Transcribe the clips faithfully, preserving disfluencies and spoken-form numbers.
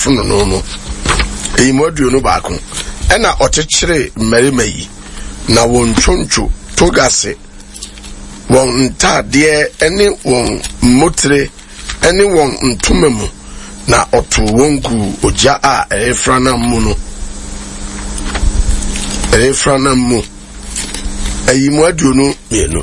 fononoo mu. Eyi mu aduonu baako. Ɛna ɔkyekyeree mmarima yi, na wɔn ntwontwo togase, wɔn ntaadeɛ ne wɔn mmotire ne wɔn ntoma mu, na ɔtoo wɔn guu ogya a ɛrefranam mu no. Ɛrefranam mu. Ayi mu aduonu mmienu.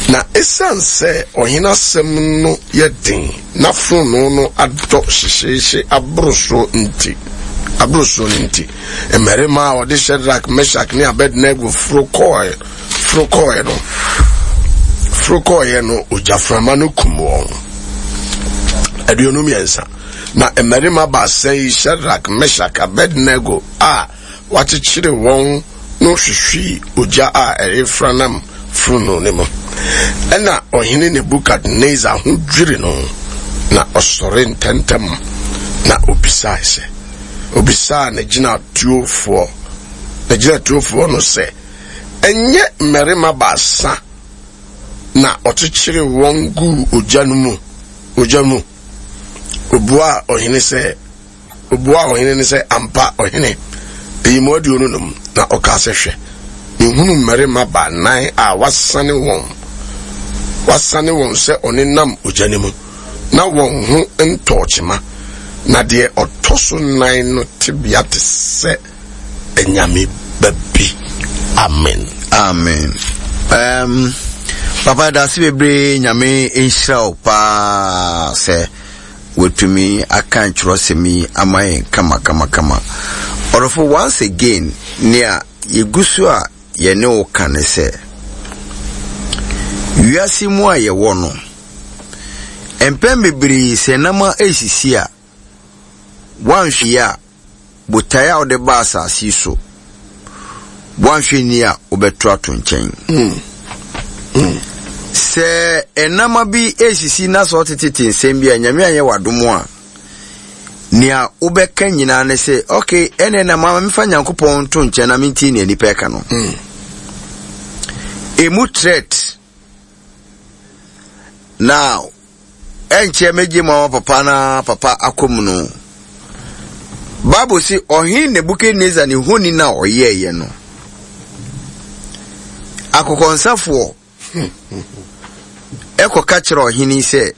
Na esiane sɛ ɔhene asɛm no yɛ den na fononoo no adɔ hyehyeehye aboro soɔ nti, aboro soɔ no nti, mmarima a wɔde Shadrach, Meshach ne Abednego foro kɔɔɛ, foro kɔɔɛ no, foro kɔɔɛ no, ogyaframa no kum wɔn. Aduonu mmiɛnsa. Na mmarima baasa yi, Shadrach, Meshach, Abednego a wɔakyekyere wɔn no hwehwee ogya a ɛrefranam fononoo no mu. Ɛnna ɔhene Nebukadnesar ho dwiri no, na ɔsɔre ntɛmntɛm, na obisae sɛ, obisaa n'agyinatuofoɔ, n'agyinatuofoɔ no sɛ, Ɛnyɛ mmarima baasa na ɔkyekyere wɔn guu ogya no mu, ogya mu? Obuaa ɔhene sɛ, Obuaa ɔhene no sɛ, Ampa, ɔhene, eyi mu aduonu num. Na ɔkaa sɛ, Hwɛ, mehunu mmarima baanan a wɔasane wɔn, wɔasane wɔn sɛ ɔnenam ogya no mu, na wɔn ho ntɔɔ kyema, na deɛ ɔtɔ so nnan no tebea te sɛ anyame ba bi. Amen. Amen. Um, Papa, dase bebree. Nyame nhyira wo paa sɛ watumi aka nkyerɛsɛm yi ama yɛn kama kama kama. Ɔdɔfo, once again, nea yɛgu so a yɛne wo ka ne sɛ, wiase mu a yɛwɔ no, mpɛn bebree sɛ nam a ɛsisi a, woanhwɛ yie a, botaeɛ a wode ba asase yi so, woanhwɛ ni a, wobɛto ato nkyɛn. Mm. Mm. Sɛ ɛnama bi esisi na sɛ ɔtetete nsɛm bi a, Nyame anyɛ w'adom a, nea wobɛka nyinaa ne sɛ, okay, ɛnɛ na ma memfa Nyankopɔn nto nkyɛn na mentie nea nnipa ɛka no. Mm. Emu threat. Now, ɛnkyɛ megye ma papa na papa akɔ mu no. Bible se ɔhene Nebukadnezar ne honi na ɔyɛɛyɛ no, akokɔnsafoɔ ɛkɔka kyerɛ ɔhene sɛ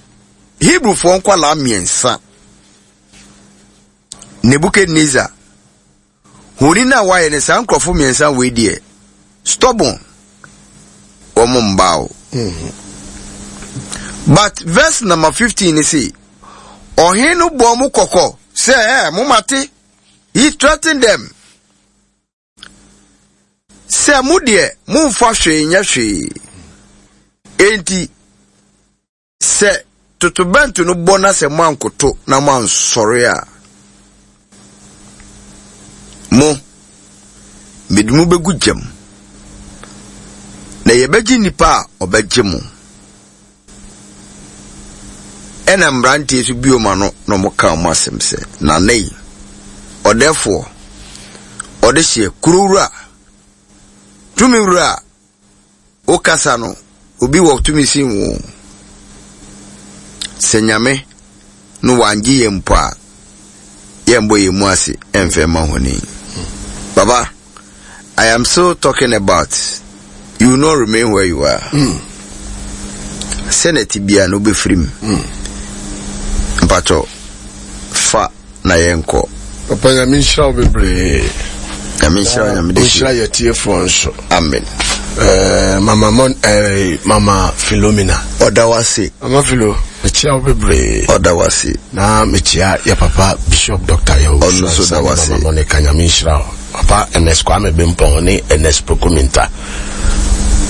Hebrewfoɔ nkwalaa mmiɛnsa, Nebukadnezar honi no a wayɛ no, saa nkurɔfo mmiɛnsa wei deɛ, stubborn, wɔn mba o. But verse number fifteen ni sɛ ɔhene no bɔ ɔmo kɔkɔ sɛ, ɛ mo mate, he threatened them sɛ mo deɛ, momfa hwee nyɛ hwee, enti sɛ totobɛnto no bɔ na sɛ moankoto na moansɔre a, mo mede mo bɛgu gyam, na yɛbɛgye nnipa a ɔbɛgye mo. Ɛna mmeranteɛ nso bio ma no na ɔmo ka ɔmo asɛm sɛ, nana yi ɔdɛfoɔ ɔde hyɛ kurowura tumi wura a wokasa no, obi wɔ tumi sin wo sɛ Nyame no wangye yɛn mpo a, yɛmbɔ yɛn mu ase ɛmfɛ ma honi. Baba, I am still talking about you will not remain where you are. Mm. Sɛ ti bia no wobɛfiri mu. Mm. Mpatɔ fa na yɛnkɔ. Papa, Nyame nhyira wo bebree. Nyame nhyira wo, Nyame de. Nhyira yɛ tiefoɔ nso. Amen. Eh, mama Mon, eh, Mama Philomena. Ɔda wase. Mama Philo, mekyia wo bebree. Ɔda wase. Na mekyia yɛ papa Bishop Doctor Yawo. Ɔno nso da wase. Mama Monica, Nyame nhyira wo. Papa Ernest Kwame Bempɔn ne Ernest Pokuminta.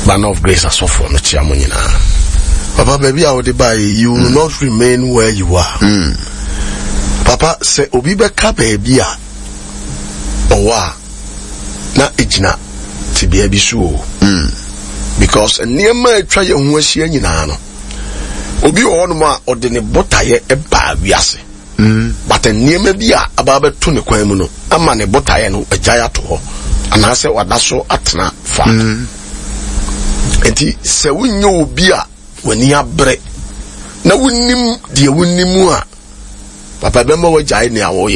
Banner of Grace asɔfoɔ, mekyia mo nyinaa. Papa, baabi a wode baa yi, you will mm. not remain where you are. Mm. Papa, sɛ obi bɛka baabi a ɔwɔ a, na egyina tebea bi so o. Mm. Because nneɛma a atwa yɛn ho ahyia nyinaa no, obi wɔ hɔnom a ɔde ne botaeɛ baa wiase. Mm. But nneɛma bi a aba abɛto ne kwan mu no ama ne botaeɛ no agyae ato hɔ anaasɛ wada so atena faako. Mm. Nti sɛ wonyɛ obi a w'ani abere na wonim deɛ wonim a, papa, bɛma wagyae nea wɔyɛ.